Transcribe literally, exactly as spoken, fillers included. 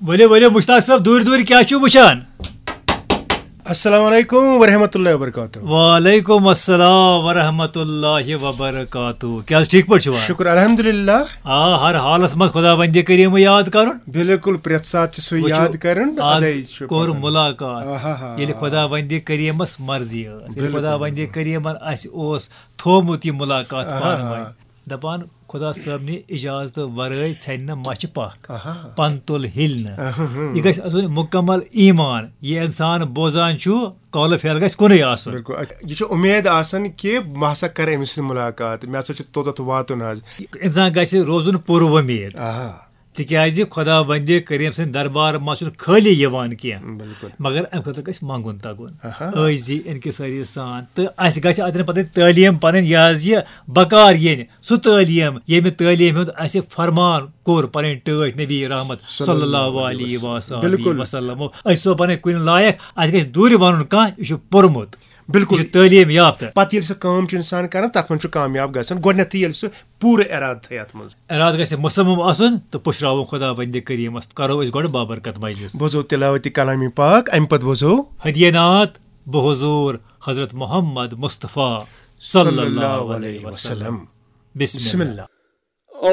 ؤلِو ؤلِو مشتاق صٲب، دوٗرِ دوٗرِ کیٛاہ چھُو وٕچھان؟ السلام علیکم ورحمۃ اللہ وبرکاتہ۔ وعلیکم السلام ورحمۃ اللہ وبرکاتہ۔ کیٛاہ حظ ٹھیٖک پٲٹھۍ چھِوا؟ شکر الحمدللہ۔ آ، ہر حالس منٛز خداوندِ کریٖم یاد کرُن۔ بالکل، پرٛٮ۪تھ ساتہٕ چھِ سُہ وٕچھِو، یاد کرُن، آز ادے چھُ کوٚر پکان۔ ملاقات۔ آہا۔ ییٚلہِ خداوندِ کریٖمس مرضی ٲس، ییٚلہِ بالکل۔ خداوندِ کریٖمن اسہِ اوس تھوٚومُت یہِ ملاقات آہا۔ پانہٕ ؤنۍ۔ دپان خدا صٲب نہِ اجازتہٕ ورٲے ژھٮ۪نہِ نہٕ مچھِ پکھ، آہا۔ پن تُل ہِلہِ نہٕ۔ آہا۔ یہِ گژھِ آسُن مکمل ایمان۔ یہِ انسان بوزان چھُ، قول فعل گژھِ کُنُے آسُن۔ بالکل، یہِ چھِ اُمید آسان کہِ بہٕ ہسا کرٕ أمِس سۭتۍ ملاقات، مےٚ ہسا چھُ توٚتتھ واتُن حظ۔ انسان گژھِ روزُن پُر وۄمید، آہا۔ تِکیازِ خداوندِ کریٖم سٕنٛدِ دربار منٛز چھُنہٕ خٲلی یِوان کینٛہہ، بالکل۔ مگر امہِ خٲطرٕ گژھِ منٛگُن تگُن۔ آہا۔ عٲجزی انکسٲری سان، تہٕ اسہِ گژھِ اتٮ۪ن پتہٕ تعلیٖم پنٕنۍ، یہِ حظ یہِ بکار یِنۍ، سُہ تعلیٖم، ییٚمہِ تعلیٖم ہُنٛد اسہِ فرمان کوٚر پنٕنۍ ٹٲٹھۍ نبی رحمت صلی اللہ علیہ وسلم۔ بالکل۔ أسۍ سو بنٕنۍ کُنہِ لایق، اسہِ گژھِ دوٗرِ ونُن کانٛہہ، یہِ چھُ پوٚرمُت، بالکل۔ یہِ چھُ تعلیٖم یافتہٕ۔ پتہٕ ییٚلہِ سُہ کٲم چھُ انسان کران، تتھ منٛز چھُ کامیاب گژھان گۄڈٕنیتھٕے ییٚلہِ سُہ پوٗرٕ ارادٕ تھایہِ اتھ منٛز۔ ارادٕ گژھِ مصمم آسُن تہٕ پُشراوُن خداوندِ کریٖمس۔ کرو أسۍ گۄڈٕ بابرکت مجلس۔ بوزو تلاوتِ کلامِ پاک، امہِ پتہٕ بوزو۔ ہدیہ نعت بحضور حضرت محمد مصطفیٰ صلی اللہ علیہ وسلم۔ بسم بسم اللہ۔ اللہ۔